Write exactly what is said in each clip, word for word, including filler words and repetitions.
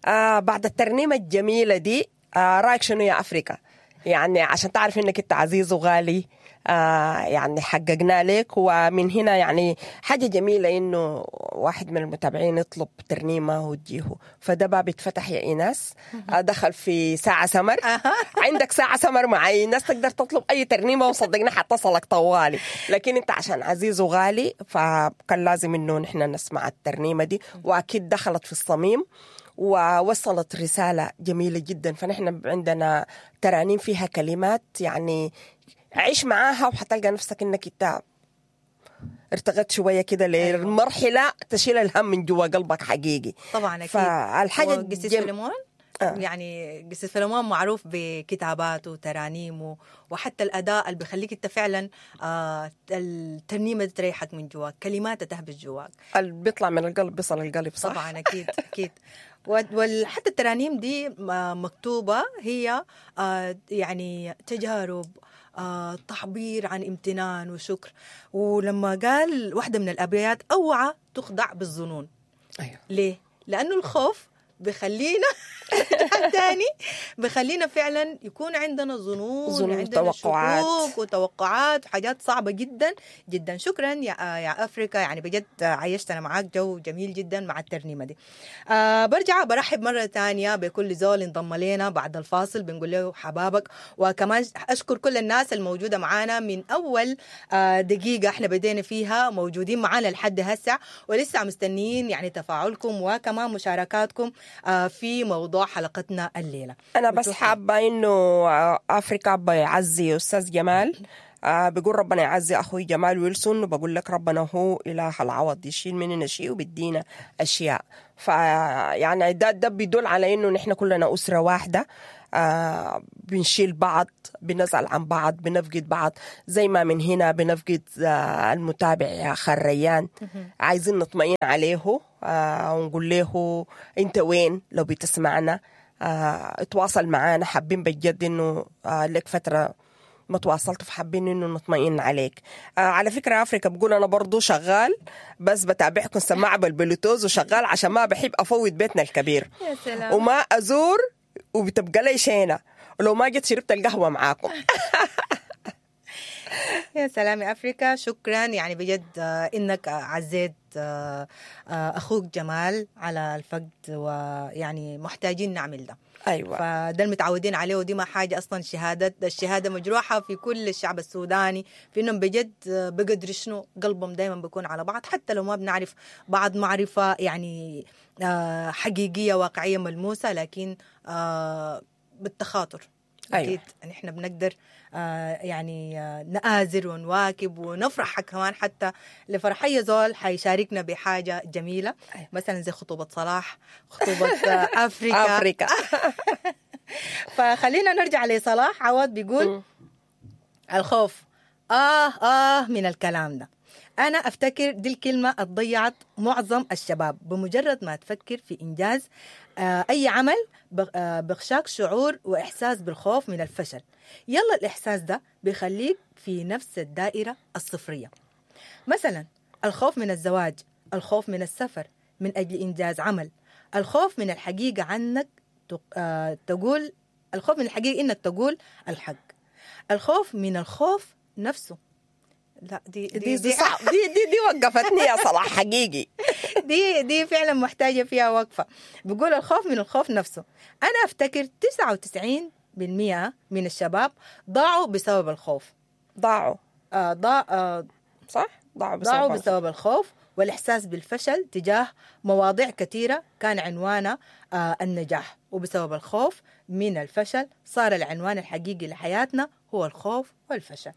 آه بعد الترنيمة الجميلة دي، آه رايك شنو يا أفريكا؟ يعني عشان تعرف إنك أنت عزيز وغالي، آه يعني حققنا لك. ومن هنا يعني حاجة جميلة إنه واحد من المتابعين يطلب ترنيمة وتجيه، فده باب اتفتح يا إيناس. آه دخل في ساعة سمر. عندك ساعة سمر مع إيناس تقدر تطلب أي ترنيمة وصدقنا حتصلك طوالي، لكن أنت عشان عزيز وغالي فكان لازم إنه نحن نسمع الترنيمة دي، وأكيد دخلت في الصميم ووصلت رسالة جميلة جدا. فنحن عندنا ترانيم فيها كلمات يعني عيش معاها وحتلقى نفسك انك انت ارتقيت شوية كده للمرحلة تشيل الهم من جوا قلبك حقيقي. طبعا اكيد. فالحاجة وقسيس الجم... فيلمون آه. يعني قسيس فيلمون معروف بكتاباته وترانيمه وحتى الاداء اللي بيخليك انت فعلا آه الترنيمة دي تريحك من جواك، كلماتها تهبش جواك. اللي بيطلع من القلب بيصل القلب، صح؟ طبعا اكيد اكيد. وحتى الترانيم دي مكتوبة هي آه يعني تجارب، آه تعبير عن امتنان وشكر. ولما قال واحدة من الابيات اوعى تخدع بالظنون. ايوه. ليه؟ لانه الخوف بخلينا تاني بخلينا فعلا يكون عندنا ظنون، ظنون، عندنا توقعات. شكوك وتوقعات وحاجات صعبة جدا جدا. شكرا يا يا أفريكا، يعني بجد عيشتنا معاك جو جميل جدا مع الترنيمة دي. آه برجع برحب مرة تانية بكل زول انضم لنا بعد الفاصل، بنقول له حبابك. وكمان أشكر كل الناس الموجودة معانا من أول آه دقيقة احنا بدينا فيها، موجودين معانا لحد هسه ولسه مستنيين يعني تفاعلكم وكمان مشاركاتكم آه في موضوع حلقتنا الليلة. أنا بس بتوحي. حابة إنه أفريكا بيعزي أستاذ جمال، آه بيقول ربنا يعزي أخوي جمال ويلسون، وبقول لك ربنا هو إله العوض، يشيل مننا شيء وبيدينا أشياء. فيعني ده ده بيدل على إنه نحن كلنا أسرة واحدة، آه بنشيل بعض، بنسأل عن بعض، بنفقد بعض. زي ما من هنا بنفقد آه المتابع يا خريان، عايزين نطمئن عليه آه ونقول له انت وين لو بتسمعنا، آه اتواصل معانا. حابين بجد انه آه لك فترة ما تواصلت، فحابين انه نطمئن عليك. آه على فكرة افريكا بقول انا برضو شغال، بس بتابعكم سماعة بالبلوتوز وشغال عشان ما بحب افوت بيتنا الكبير يا سلام. وما ازور وبتبقى لي شينة ولو ما جيت شربت القهوة معاكم. يا سلام يا أفريكا، شكرا يعني بجد آه، إنك عزيت آه، آه، أخوك جمال على الفقد، ويعني محتاجين نعمل ده. أيوة. فده المتعودين عليه، ودي ما حاجة أصلا. شهادة الشهادة مجروحة في كل الشعب السوداني في إنهم بجد بقدر شنو قلبهم دايما بيكون على بعض، حتى لو ما بنعرف بعض معرفة يعني آه، حقيقية واقعية ملموسة، لكن آه، بالتخاطر. أيوة. أكيد نحن بنقدر آه يعني آه نآزر ونواكب ونفرح كمان حتى لفرح أي زول حيشاركنا بحاجة جميلة. أيوة. مثلا زي خطوبة صلاح، خطوبة آه أفريكا. أفريكا. فخلينا نرجع لصلاح عوض. بيقول الخوف آه آه من الكلام ده. أنا أفتكر دي الكلمة ضيعت معظم الشباب. بمجرد ما تفكر في إنجاز آه أي عمل بغ- آه، بغشاك شعور وإحساس بالخوف من الفشل. يلا الإحساس ده بيخليك في نفس الدائرة الصفرية. مثلا الخوف من الزواج، الخوف من السفر من أجل إنجاز عمل، الخوف من الحقيقة عنك تق- آه، تقول، الخوف من الحقيقة إنك تقول الحق، الخوف من الخوف نفسه. لا دي دي دي دي صعب، دي دي دي وقفتني يا صلاح حقيقي. دي دي فعلا محتاجة فيها وقفة. بقول الخوف من الخوف نفسه. أنا أفتكر تسعة وتسعين بالمئة من الشباب ضاعوا بسبب الخوف. ضاعوا. آه ضاع آه صح؟ ضاعوا بسبب ضاعوا الخوف. بسبب الخوف والإحساس بالفشل تجاه مواضيع كثيرة كان عنوانها آه النجاح، وبسبب الخوف من الفشل صار العنوان الحقيقي لحياتنا هو الخوف والفشل.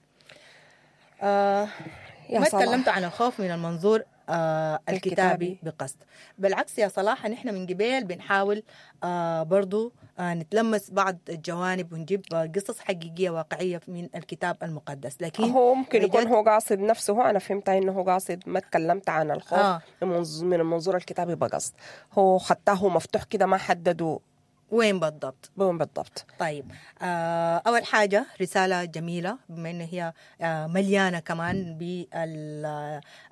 آه يا ما صلاح. تكلمت عن الخوف من المنظور آه الكتابي الكتابي. بقصد. بالعكس يا صلاح، نحن من قبل بنحاول آه برضو آه نتلمس بعض الجوانب ونجيب آه قصص حقيقية واقعية من الكتاب المقدس، لكن هو ممكن يكون بجد هو قاصد نفسه هو، أنا فهمت إنه هو قاصد ما تكلمت عن الخوف آه. من منظ- من المنظور الكتابي بقصد، هو خطاه مفتوح كده ما حددوا وين بالضبط. وين بالضبط. طيب آه، أول حاجة رسالة جميلة بما أن هي آه، مليانة كمان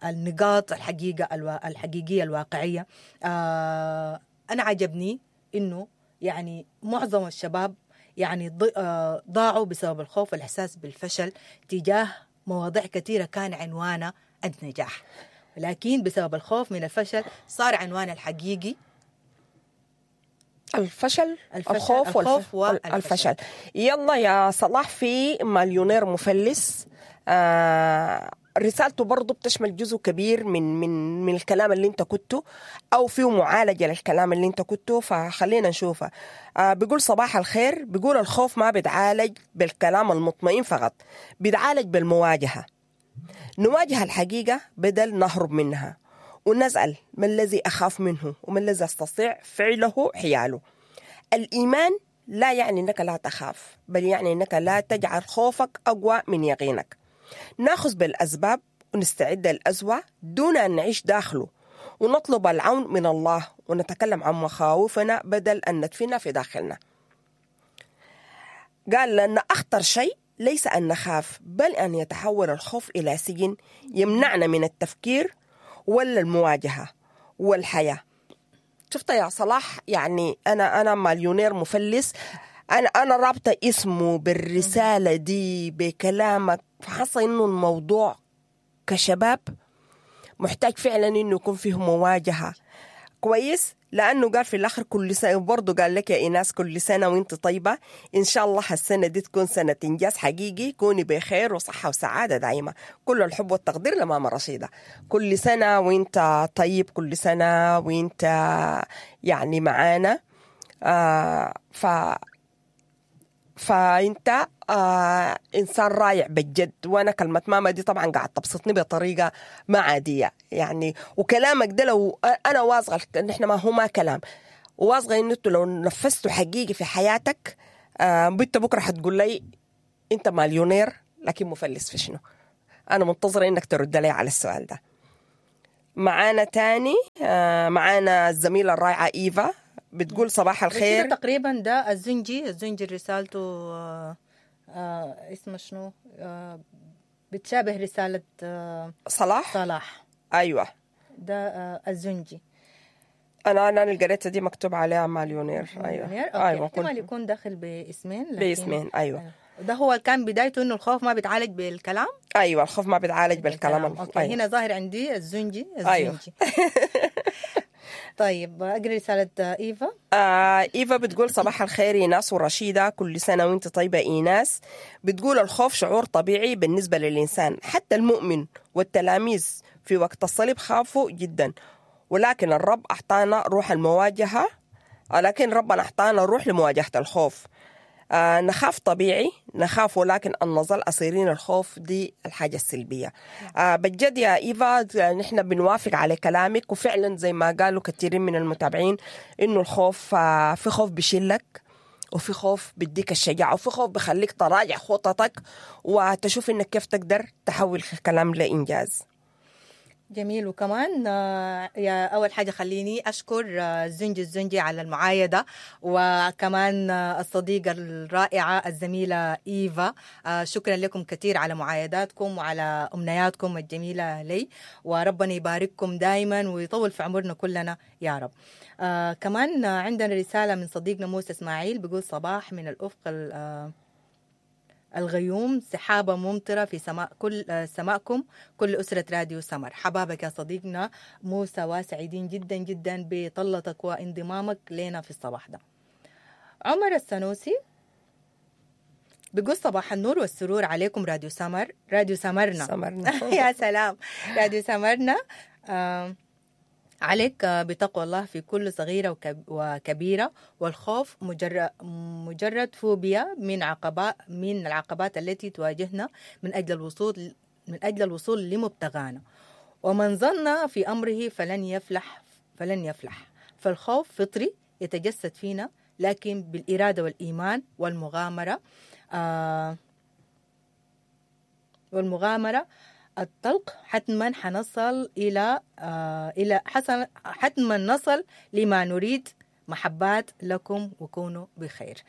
بالنقاط الحقيقة الوا- الحقيقية الواقعية. آه، أنا عجبني انه يعني معظم الشباب يعني ض- آه، ضاعوا بسبب الخوف والاحساس بالفشل تجاه مواضيع كثيرة كان عنوانها النجاح، لكن بسبب الخوف من الفشل صار عنوان الحقيقي الفشل، الفشل، الخوف, الخوف والف... والفشل. الفشل. يلا يا صلاح، في مليونير مفلس آه رسالته برضو بتشمل جزء كبير من من من الكلام اللي انت كنته، او فيه معالجة للكلام اللي انت كنته، فخلينا نشوفها. آه بيقول صباح الخير، بيقول الخوف ما بيتعالج بالكلام المطمئن فقط، بيتعالج بالمواجهه. نواجه الحقيقة بدل نهرب منها، ونسأل ما الذي أخاف منه وما الذي أستطيع فعله حياله. الإيمان لا يعني أنك لا تخاف، بل يعني أنك لا تجعل خوفك أقوى من يقينك. ناخذ بالأسباب ونستعد للأسوأ دون أن نعيش داخله، ونطلب العون من الله، ونتكلم عن مخاوفنا بدل أن ندفنها في داخلنا. قال لأن أخطر شيء ليس أن نخاف، بل أن يتحول الخوف إلى سجن يمنعنا من التفكير ولا المواجهة والحياة. شفت يا صلاح، يعني أنا أنا مليونير مفلس، أنا أنا رابطة اسمه بالرسالة دي بكلامك، فحاسة إنه الموضوع كشباب محتاج فعلا إنه يكون فيه مواجهة. كويس، لأنه قال في الآخر كل سنة، برضه قال لك يا إيناس كل سنة وانت طيبة، إن شاء الله السنة دي تكون سنة إنجاز حقيقي، كوني بخير وصحة وسعادة دائمة. كل الحب والتقدير لماما رشيدة. كل سنة وانت طيب، كل سنة وانت يعني معانا. آه ف فانت آه انسان رائع بجد. وانا كلمة ماما دي طبعا قاعد تبسطني بطريقة ما عادية يعني، وكلامك ده لو انا واثقة ان احنا ما هو ما كلام، واثقة ان انتوا لو نفذتوا حقيقي في حياتك آه بنت بكره حتقول لي انت مليونير لكن مفلس في شنو. انا منتظره انك ترد لي على السؤال ده. معانا تاني آه معانا الزميلة الرائعة ايفا بتقول صباح الخير. كده تقريبا ده الزنجي، الزنجي رسالته آه آه اسمه شنو؟ آه بتشابه رسالة آه صلاح صلاح. ايوه ده آه الزنجي. انا انا اللي قريتها دي مكتوب عليها مليونير. ايوه مليونير. okay. ايوه احتمال يكون داخل باسمين لكن باسمين. ايوه ده هو كان بدايته انه الخوف ما بيتعالج بالكلام. ايوه الخوف ما بيتعالج بالكلام. بالكلام. okay. أيوة. هنا ظاهر عندي الزنجي الزنجي. أيوة. طيب اقري رسالة ايفا. آه ايفا بتقول صباح الخير ايناس ورشيده، كل سنة وانت طيبة. ايناس بتقول الخوف شعور طبيعي بالنسبة للانسان، حتى المؤمن والتلاميذ في وقت الصليب خافوا جدا، ولكن الرب اعطانا روح المواجهة، لكن ربنا اعطانا روح لمواجهة الخوف. آه نخاف طبيعي، نخاف ولكن أن نظل أسيرين الخوف دي الحاجة السلبية. آه بجد يا إيفا نحن بنوافق على كلامك، وفعلا زي ما قالوا كثيرين من المتابعين إنه الخوف آه في خوف بشلك، وفي خوف بديك الشجاعة، وفي خوف بخليك تراجع خططك وتشوف إنك كيف تقدر تحول الكلام لإنجاز. جميل. وكمان يا أول حاجة خليني أشكر الزنجي الزنجي على المعايدة، وكمان الصديقة الرائعة الزميلة إيفا، شكرا لكم كثير على معايداتكم وعلى أمنياتكم الجميلة لي، وربنا يبارككم دائما ويطول في عمرنا كلنا يا رب. كمان عندنا رسالة من صديقنا موسى إسماعيل بيقول صباح من الأفق الغيوم، سحابة ممطرة في سماء كل سماءكم كل أسرة راديو سمر. حبابك يا صديقنا موسى، وسعيدين جدا جدا بطلتك وانضمامك لنا في الصباح ده. عمر السنوسي بيقول صباح النور والسرور عليكم راديو سمر، راديو سمرنا, سمرنا. يا سلام، راديو سمرنا. آه عليك بتقوى الله في كل صغيرة وكبيرة، والخوف مجرد, مجرد فوبيا من عقبات من العقبات التي تواجهنا من أجل الوصول من أجل الوصول لمبتغانا، ومن ظن في أمره فلن يفلح فلن يفلح. فالخوف فطري يتجسد فينا، لكن بالإرادة والإيمان والمغامرة آه والمغامرة الطلق حتما حنصل إلى آه إلى حسن حتما نصل لما نريد. محبات لكم وكونوا بخير.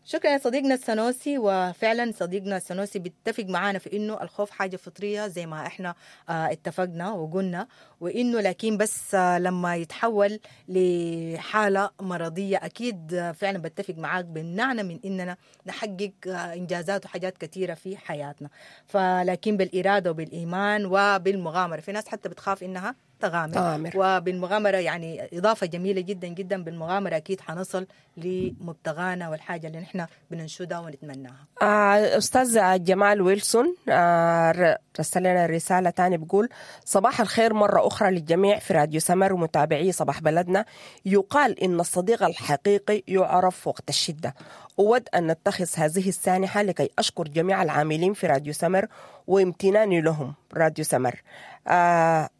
شكرا يا صديقنا السنوسي. وفعلا صديقنا السنوسي بيتفق معانا في انه الخوف حاجة فطرية زي ما احنا آه اتفقنا وقلنا، وانه لكن بس آه لما يتحول لحاله مرضية اكيد آه فعلا بتفق معاك بمنعنا من اننا نحقق آه انجازات وحاجات كثيرة في حياتنا. فلكن بالارادة وبالايمان وبالمغامره، في ناس حتى بتخاف انها تغامر, تغامر. وبالمغامرة يعني إضافة جميلة جدا جدا، بالمغامرة أكيد حنصل لمبتغانا والحاجة اللي نحن بننشدها ونتمناها. آه أستاذ جمال ويلسون آه رسل لنا رسالة تاني بيقول صباح الخير مرة أخرى للجميع في راديو سمر ومتابعي صباح بلدنا. يقال إن الصديق الحقيقي يعرف وقت الشدة. أود أن نتخذ هذه السانحة لكي أشكر جميع العاملين في راديو سمر وامتناني لهم. راديو سمر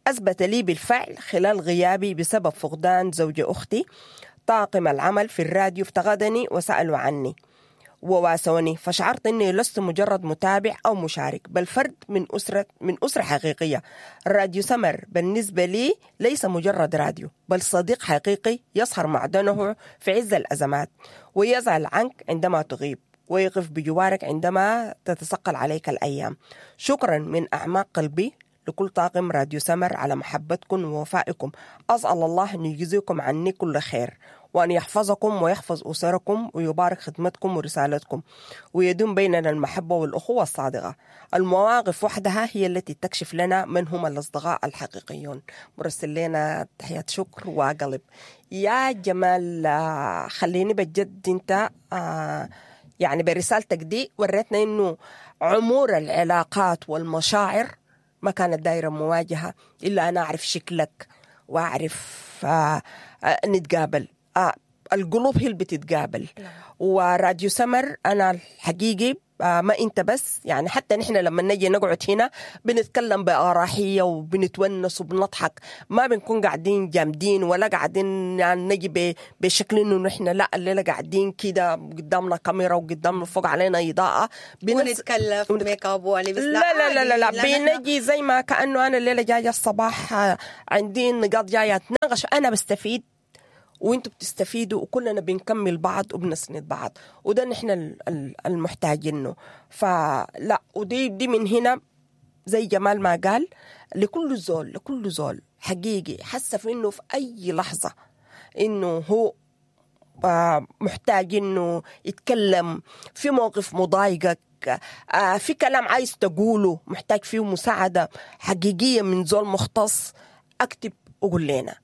أثبت لي بالفعل خلال غيابي بسبب فقدان زوج أختي طاقم العمل في الراديو افتقدني وسألوا عني وواسوني، فشعرت أني لست مجرد متابع أو مشارك بل فرد من أسرة من أسرة حقيقية. راديو سمر بالنسبة لي ليس مجرد راديو بل صديق حقيقي يسهر معدنه في عز الأزمات ويزعل عنك عندما تغيب ويقف بجوارك عندما تتثقل عليك الأيام. شكرا من أعماق قلبي لكل طاقم راديو سمر على محبتكم ووفائكم. أسأل الله أن يجزيكم عني كل خير وأن يحفظكم ويحفظ أسركم ويبارك خدمتكم ورسالتكم ويدوم بيننا المحبة والأخوة الصادقة. المواقف وحدها هي التي تكشف لنا من هم الأصدقاء الحقيقيون. مرسل لنا تحية شكر وقلب. يا جمال خليني بجد انت يعني برسالتك دي وريتنا انه عمور العلاقات والمشاعر ما كانت دايرة مواجهة إلا أنا أعرف شكلك وأعرف آه آه نتقابل. آه القلوب هي اللي بتتقابل. وراديو سمر أنا الحقيقي آه ما أنت بس، يعني حتى نحن لما نجي نقعد هنا بنتكلم بأراحية وبنتونس وبنضحك، ما بنكون قاعدين جامدين ولا قاعدين يعني نجي بشكل إنه نحن لا الليلة قاعدين كده قدامنا كاميرا وقدامنا فوق علينا إضاءة ونتكلف ميك اب ولبس. لا لا لا لا, لا, لا بنجي زي ما كأنه أنا الليلة جاية الصباح عندي نقاط جاية أتناقش، أنا بستفيد وانتوا بتستفيدوا وكلنا بنكمل بعض وبنسند بعض، وده نحن المحتاجينه. فلا ودي دي من هنا زي جمال ما قال لكل زول، لكل زول حقيقي حس في انه في اي لحظة انه هو محتاج انه يتكلم في موقف مضايقك، في كلام عايز تقوله محتاج فيه مساعدة حقيقية من زول مختص، اكتب وقول لنا.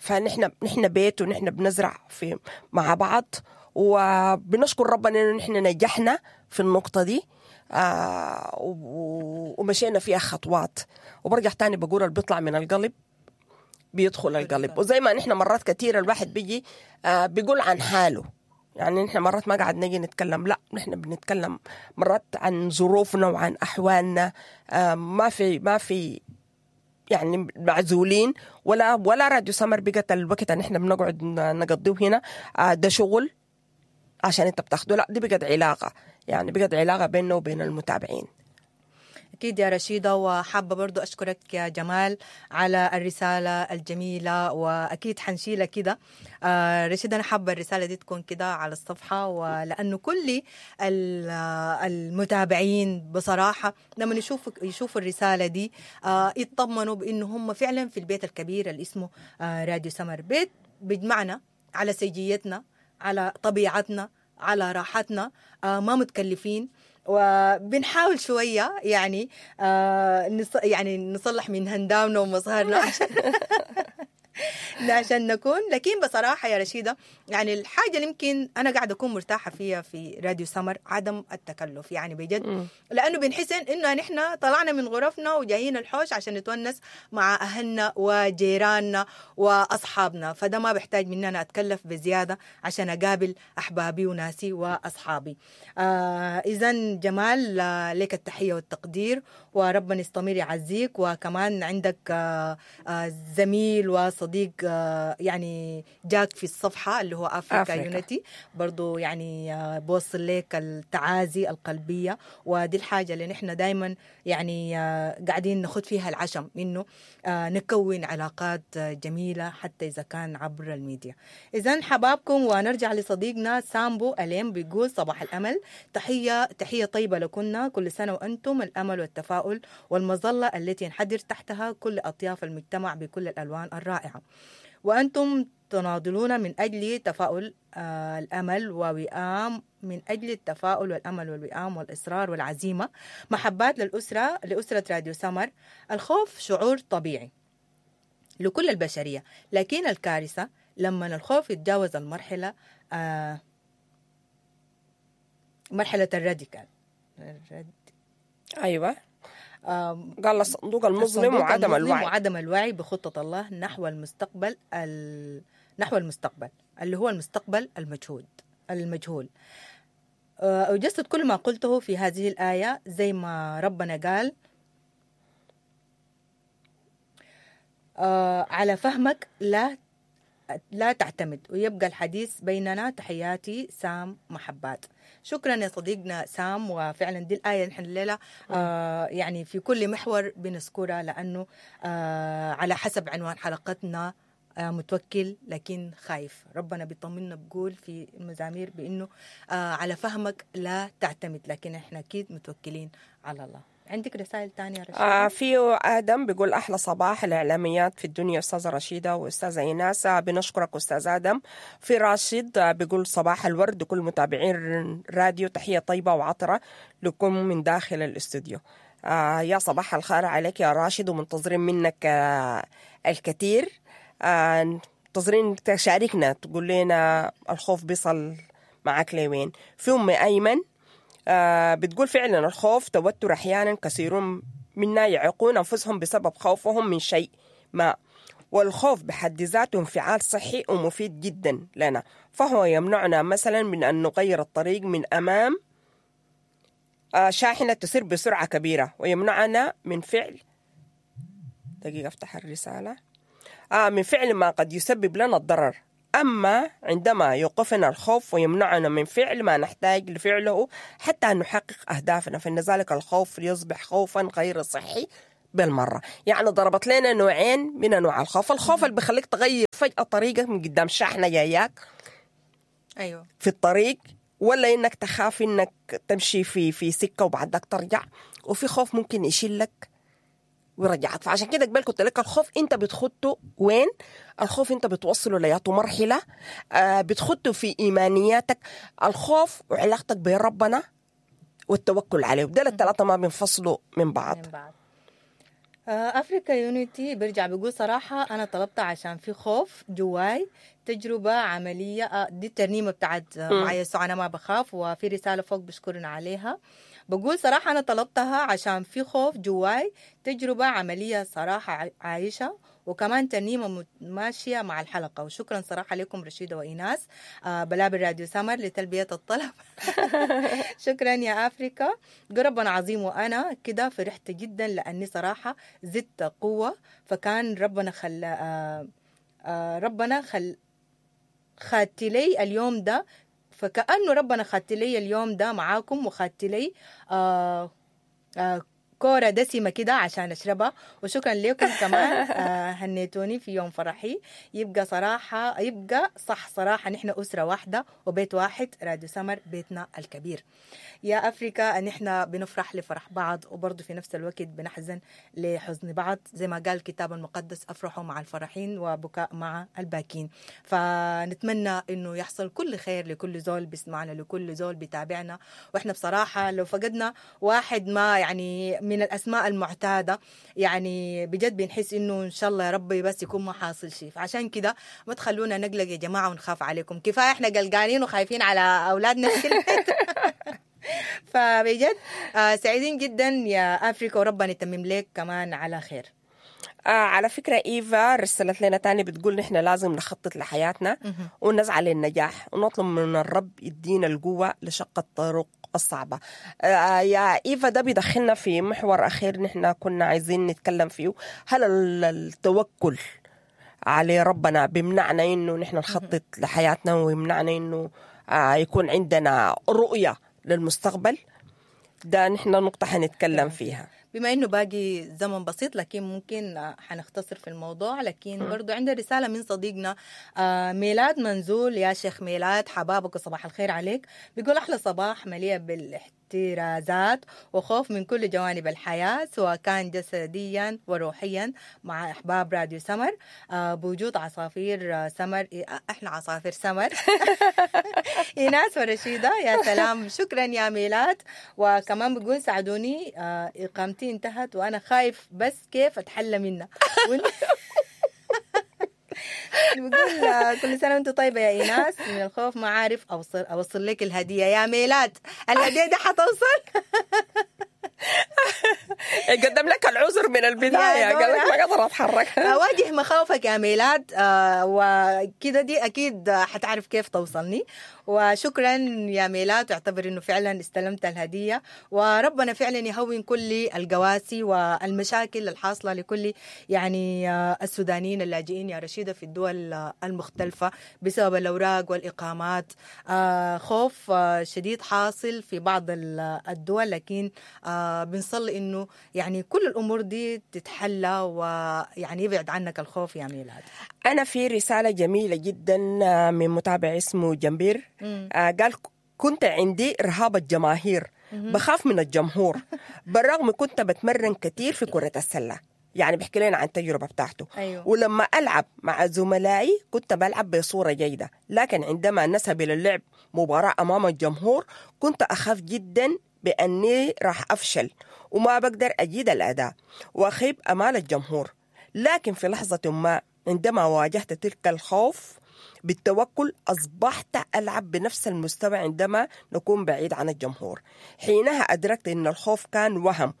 فنحن نحن بيت ونحن بنزرع في مع بعض، وبنشكر ربنا انه نحن نجحنا في النقطة دي آه ومشينا فيها خطوات. وبرجع تاني بقول اللي بيطلع من القلب بيدخل القلب. وزي ما نحن مرات كثيرة الواحد بيجي آه بيقول عن حاله، يعني نحن مرات ما قاعد نجي نتكلم، لا نحن بنتكلم مرات عن ظروفنا وعن أحوالنا، آه ما في ما في يعني معزولين ولا ولا راديو سمر بقت الوقت ان احنا بنقعد نقضيه هنا ده شغل عشان انت بتاخده، لا دي بقت علاقة، يعني بقت علاقة بيننا وبين المتابعين. أكيد يا رشيدة، وحابة برضو أشكرك يا جمال على الرسالة الجميلة، وأكيد حنشيلها كده. آه رشيدة أنا حابة الرسالة دي تكون كده على الصفحة، ولأنه كل المتابعين بصراحة لما يشوفوا يشوفوا الرسالة دي آه يطمنوا بأنه هم فعلا في البيت الكبير اللي اسمه آه راديو سمر، بيت بيجمعنا على سجيتنا، على طبيعتنا، على راحتنا، آه ما متكلفين، وبنحاول شوية يعني آه نص يعني نصلح من هندامنا ومظهرنا عشان عشان نكون. لكن بصراحة يا رشيدة يعني الحاجة اللي يمكن أنا قاعدة أكون مرتاحة فيها في راديو سمر عدم التكلف، يعني بجد، لأنه بنحس إنه نحن طلعنا من غرفنا وجايين الحوش عشان نتونس مع أهلنا وجيراننا وأصحابنا، فده ما بحتاج مننا أتكلف بزيادة عشان أقابل أحبابي وناسي وأصحابي. آه إذن جمال لك التحية والتقدير، وربنا يستمر يعزيك، وكمان عندك آه آه زميل وصديق صديق آه يعني جاك في الصفحة اللي هو افريكا, أفريكا. يونيتي، برضو يعني آه بوصل لك التعازي القلبية. ودي الحاجة اللي نحن دايما يعني آه قاعدين نخد فيها العشم، انه آه نكون علاقات آه جميلة حتى اذا كان عبر الميديا. اذا حبابكم، ونرجع لصديقنا سامبو أليم بيقول صباح الامل، تحية تحية طيبة لكنا، كل سنة وانتم الامل والتفاؤل والمظله التي ينحدر تحتها كل اطياف المجتمع بكل الالوان الرائعة، وأنتم تناضلون من أجل تفاؤل آه الأمل ووئام، من أجل التفاؤل والأمل والوئام والإصرار والعزيمة. محبات للأسرة، لأسرة راديو سمر. الخوف شعور طبيعي لكل البشرية، لكن الكارثة لما الخوف يتجاوز المرحلة آه مرحلة ال radical الرد ايوه، آم، قال الصندوق المظلم الصندوق وعدم المظلم الوعي. وعدم الوعي بخطة الله نحو المستقبل ال... نحو المستقبل اللي هو المستقبل المجهول المجهول. آه، أجسد كل ما قلته في هذه الآية زي ما ربنا قال آه، على فهمك لا لا تعتمد، ويبقى الحديث بيننا. تحياتي سام محبات. شكرا يا صديقنا سام، وفعلا دي الآية نحن الليلة آه يعني في كل محور بنذكرها، لأنه آه على حسب عنوان حلقتنا آه متوكل لكن خايف. ربنا بيطمنا بقول في المزامير بأنه آه على فهمك لا تعتمد، لكن احنا أكيد متوكلين على الله. عندك رسائل تانية يا رشيدة؟ آه في آدم بيقول أحلى صباح الإعلاميات في الدنيا أستاذة رشيدة وأستاذة إيناس. آه، بنشكرك أستاذ آدم. في راشد آه، بيقول صباح الورد لكل متابعين راديو، تحية طيبة وعطرة لكم من داخل الاستوديو. آه يا صباح الخير عليك يا راشد، ومنتظرين منك آه الكثير. آه منتظرين تشاركنا تقول لنا الخوف بيصل معك لوين. في أم أيمن آه بتقول فعلا الخوف توتر، أحيانا كثيرون منا يعيقون أنفسهم بسبب خوفهم من شيء ما، والخوف بحد ذاته انفعال صحي ومفيد جدا لنا، فهو يمنعنا مثلا من أن نغير الطريق من أمام آه شاحنة تسير بسرعة كبيرة، ويمنعنا من فعل دقيقة أفتح الرسالة آه من فعل ما قد يسبب لنا الضرر. أما عندما يوقفنا الخوف ويمنعنا من فعل ما نحتاج لفعله حتى نحقق أهدافنا، فإن ذلك الخوف يصبح خوفا غير صحي بالمرة. يعني ضربت لنا نوعين من أنواع الخوف، الخوف اللي بيخليك تغير فجأة طريقك من قدام شاحنة جاياك أيوة في الطريق، ولا إنك تخاف إنك تمشي في في سكة وبعدك ترجع، وفي خوف ممكن يشيلك ويرجعك. فعشان كده قبل كنت لك الخوف انت بتخطه وين؟ الخوف انت بتوصله لياته مرحلة، آه بتخطه في ايمانياتك، الخوف وعلاقتك بربنا والتوكل عليه، ودول الثلاثة ما بينفصلوا من بعض. من بعض. آه، أفريكا يونيتي بيرجع بيقول صراحة أنا طلبتها عشان في خوف جواي، تجربة عملية. آه، دي الترنيمة بتاعت آه، مع يسوع أنا ما بخاف، وفي رسالة فوق بشكرنا عليها. بقول صراحة أنا طلبتها عشان في خوف جواي، تجربة عملية صراحة ع- عايشة، وكمان ترنيمة مت- ماشية مع الحلقة. وشكرا صراحة لكم رشيدة وإيناس آه، بلابل راديو سمر لتلبية الطلب. شكرا يا أفريكا، ربنا عظيم. وأنا كده فرحت جدا لأني صراحة زدت قوة، فكان ربنا خلى آه آه ربنا خل خدت لي اليوم ده، فكأنه ربنا خدت لي اليوم ده معاكم، وخدت لي آه آه كورة دسمة كده عشان أشربها. وشكرا لكم كمان آه هنيتوني في يوم فرحي. يبقى صراحة يبقى صح صراحة نحن أسرة واحدة وبيت واحد، راديو سمر بيتنا الكبير. يا أفريكا نحن بنفرح لفرح بعض، وبرضه في نفس الوقت بنحزن لحزن بعض، زي ما قال الكتاب المقدس أفرحوا مع الفرحين وبكاء مع الباكين. فنتمنى إنه يحصل كل خير لكل زول بيسمعنا، لكل زول بيتابعنا. وإحنا بصراحة لو فقدنا واحد ما يعني من الأسماء المعتادة، يعني بجد بنحس إنه إن شاء الله يا ربي بس يكون ما حاصل شيء. فعشان كده ما تخلونا نقلق يا جماعة ونخاف عليكم، كفاية إحنا قلقانين وخايفين على أولادنا في البيت. فبجد آه، سعيدين جدا يا أفريكا، وربنا يتمم لك كمان على خير. آه على فكرة إيفا رسلت لنا تاني بتقول نحن لازم نخطط لحياتنا ونسعى للنجاح ونطلب من الرب يدينا القوة لشق الطرق الصعبة. آه يا إيفا ده بيدخلنا في محور أخير نحن كنا عايزين نتكلم فيه، هل ال- التوكل على ربنا بيمنعنا انه نحن نخطط لحياتنا، ويمنعنا انه آه يكون عندنا رؤية للمستقبل. ده نحن نقطة حنتكلم فيها. بما انه باقي زمن بسيط لكن ممكن حنختصر في الموضوع، لكن برضو عندنا رسالة من صديقنا ميلاد منزول. يا شيخ ميلاد حبابك وصباح الخير عليك. بيقول احلى صباح مليء بالاحترازات وخوف من كل جوانب الحياة سواء كان جسديا وروحيا مع احباب راديو سمر، بوجود عصافير سمر، احنا عصافير سمر ايناس ورشيدة. يا سلام، شكرا يا ميلاد. وكمان بيقول ساعدوني، اقامتي انتهت وانا خايف بس كيف اتحلى منها. بقول كل سنة وانت طيبة يا ايناس، من الخوف ما عارف اوصل اوصل لك الهدية يا ميلاد. الهدية دي حتوصل. قدم لك العذر من البداية، قال لك ما قدر اتحرك. اواجه مخاوفك يا ميلاد، آه وكده دي اكيد حتعرف كيف توصلني. وشكرا يا ميلاد، اعتبر انه فعلا استلمت الهدية، وربنا فعلا يهون كل القواسي والمشاكل الحاصلة لكل يعني السودانيين اللاجئين يا رشيده في الدول المختلفة بسبب الاوراق والاقامات. آه خوف شديد حاصل في بعض الدول، لكن آه بنصلي انه يعني كل الامور دي تتحلى ويعني يبعد عنك الخوف يا ميلاد. انا في رسالة جميلة جدا من متابع اسمه جنبير، آه قال كنت عندي رهاب الجماهير، بخاف من الجمهور بالرغم كنت بتمرن كثير في كرة السلة. يعني بيحكي لنا عن التجربة بتاعته. أيوه. ولما ألعب مع زملائي كنت بلعب بصورة جيدة، لكن عندما نذهب إلى اللعب مباراة أمام الجمهور كنت أخاف جدا بأني راح أفشل وما بقدر أجيد الأداء وأخيب أمال الجمهور. لكن في لحظة ما عندما واجهت تلك الخوف بالتوكل أصبحت ألعب بنفس المستوى عندما نكون بعيد عن الجمهور. حينها أدركت أن الخوف كان وهم،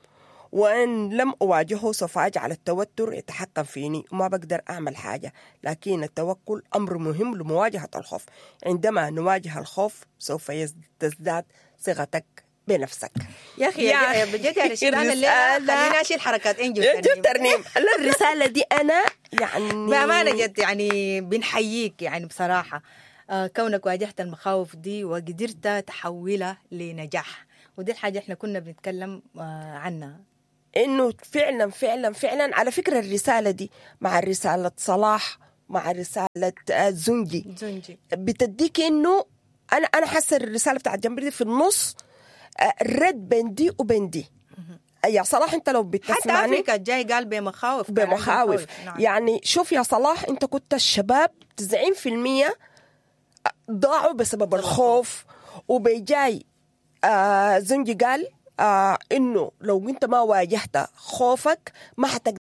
وإن لم أواجهه سوف أجعل التوتر يتحكم فيني وما بقدر أعمل حاجة. لكن التوكل أمر مهم لمواجهة الخوف. عندما نواجه الخوف سوف تزداد ثقتك بنفسك. يا أخي يا بجد يا رشيد، أنا الليلة خليني أشيل حركات إنجل ترنيم. لا الرسالة دي أنا يعني بأمانة جد يعني بنحييك، يعني بصراحة كونك واجهت المخاوف دي وقدرت تحولها لنجاح، ودي الحاجة احنا كنا بنتكلم عنها، إنه فعلا فعلا فعلا. على فكرة الرسالة دي مع رسالة صلاح مع رسالة زنجي زنجي بتديك إنه أنا أنا حاسة الرسالة بتاعت جنبي دي في النص رد بين دي وبين دي. يا صلاح أنت لو بتسمعني، حتى أفريقيا الجاي قال بمخاوف بمخاوف. نعم. يعني شوف يا صلاح، أنت كنت الشباب تسعين في المية ضاعوا بسبب الخوف، وبيجاي آه زنجي قال آه إنه لو أنت ما واجهت خوفك ما حتقدر